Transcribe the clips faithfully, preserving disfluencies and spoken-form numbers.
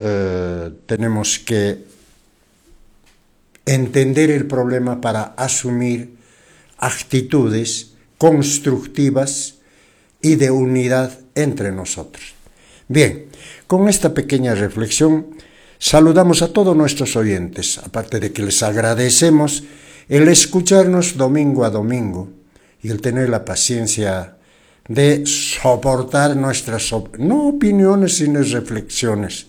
Eh, tenemos que entender el problema para asumir actitudes constructivas y de unidad entre nosotros. Bien, con esta pequeña reflexión saludamos a todos nuestros oyentes, aparte de que les agradecemos el escucharnos domingo a domingo y el tener la paciencia de soportar nuestras, no opiniones, sino reflexiones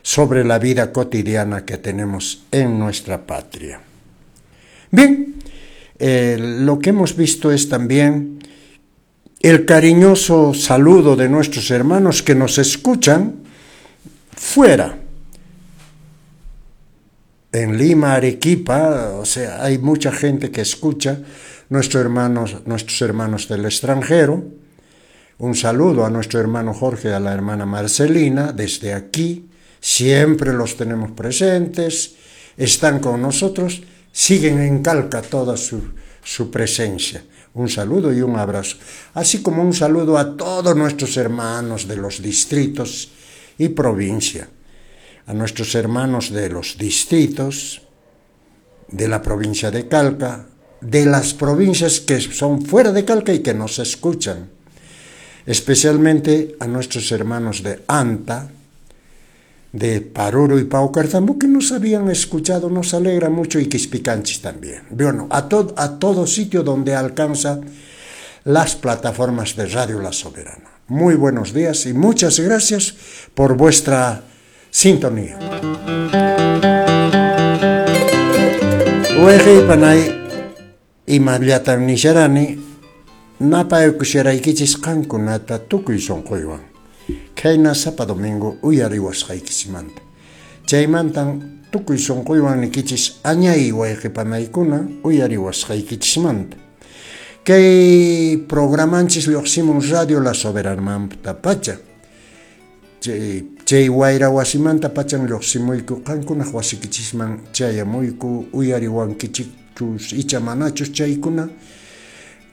sobre la vida cotidiana que tenemos en nuestra patria. Bien, eh, lo que hemos visto es también el cariñoso saludo de nuestros hermanos que nos escuchan fuera. En Lima, Arequipa, o sea, hay mucha gente que escucha, nuestros hermanos, nuestros hermanos del extranjero. Un saludo a nuestro hermano Jorge y a la hermana Marcelina desde aquí. Siempre los tenemos presentes, están con nosotros, siguen en Calca toda su, su presencia. Un saludo y un abrazo, así como un saludo a todos nuestros hermanos de los distritos y provincia, a nuestros hermanos de los distritos, de la provincia de Calca, de las provincias que son fuera de Calca y que nos escuchan, especialmente a nuestros hermanos de Anta, de Paruro y Paucartambo, que nos habían escuchado, nos alegra mucho, y Quispicanchis también. Bueno, a, to a todo sitio donde alcanza las plataformas de Radio La Soberana. Muy buenos días y muchas gracias por vuestra sintonía. Wayqey imallatam nisharani, napaykusharaykichis qankunata tukuy sunquywan. Khayna sapa domingo uyariwasqaykichismanta. Chaymantan tukuy sunquywan nikichis añay wayqipanaykuna uyariwasqaykichismanta. Kay programanchis lluqsimun Radio La Soberanamanta pacha. Chay, chay wayra wasimanta pachan lluqsimuyku qankunaq wasikichisman chayamuyku uyariwankichikchus icha manachus chaykuna.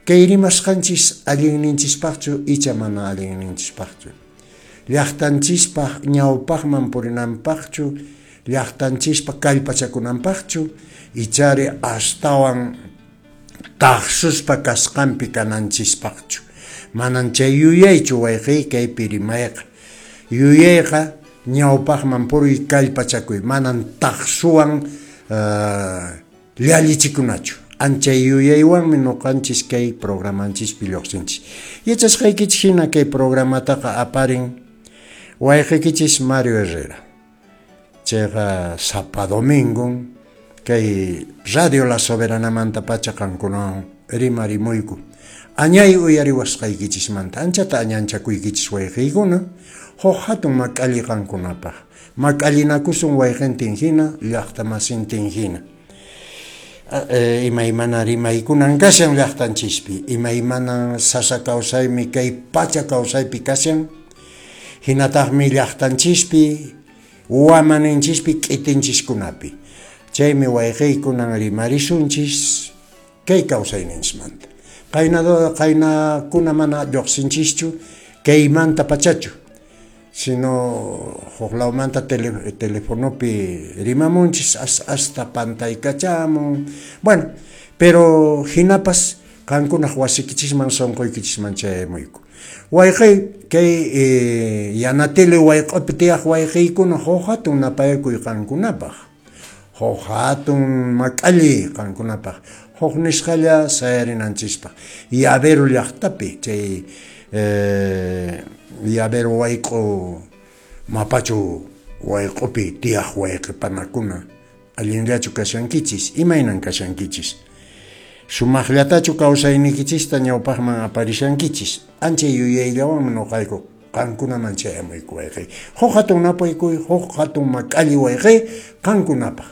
Kay rimasqanchis allinninchispaqchu icha mana allinninchispaqchu. Llaqtanchispaq ñawpaqman purinanpaqchu, llaqtanchispa kallpachakunanpaqchu, ichari astawan taqsuspa kasqanpi kananchispaqchu. Manan chay yuyaychu wayqiy kaypi rimayqa. Yuyayqa ñawpaqman puriy kallpachakuy, manan taqsuwan uh, llallichikunachu. Anchay yuyaywanmi ñuqanchis kay programanchispi lluqsinchis. Yachasqaykichis hina kay programataqa aparin wayqiykichis Mario Herrera. Chayqa sapa domingo kay Radio La Soberanamanta pacha qankunawan rimarimuyku. Añay uyariwasqaykichismanta anchata añanchakuykichis wayqiykuna, huk hatun mak'alli qankunapaq. Mak'allinakusun wayqintin hina, llaqtamasintin hina. Imaymana rimaykunan kashan llaqtanchispi, imaymana sasa kawsaymi kay pacha kawsaypi kashan, hinataqmi llaqtanchispi, wamaninchispi, k'itinchiskunapi. Chaymi wayqiykunan rimarisunchis kay kawsayninchismanta. Qayna qaynakuna mana lluqsinchischu kaymanta pachachu, sino huk lawmanta tele, telefonopi rimamunchis hasta pantaykachamon. Bueno, pero hinapas qankunaq wasikichisman sunquykichisman chayamuyku. Wayqiy kay eh, yanatili wayq'upi tiyaq wayqiykuna huk hatun napaykuy qankunapaq, huk hatun mak'alli qankunapaq, huk nisqalla sayarinanchispaq. Yavero llaqtapi chay eh, Yavero wayq'u mapachu wayq'upi tiyaq wayqipanakuna allinllachu kashankichis, imaynan kashankichis, sumaqllatachu kawsaynikichista ñawpaqman aparishankichis. Ancha yuyayllawanmi ñuqayku qankunaman chayamuyku wayqiy. Huk hatun napaykuy, huk hatun mak'alli wayqiy qankunapaq.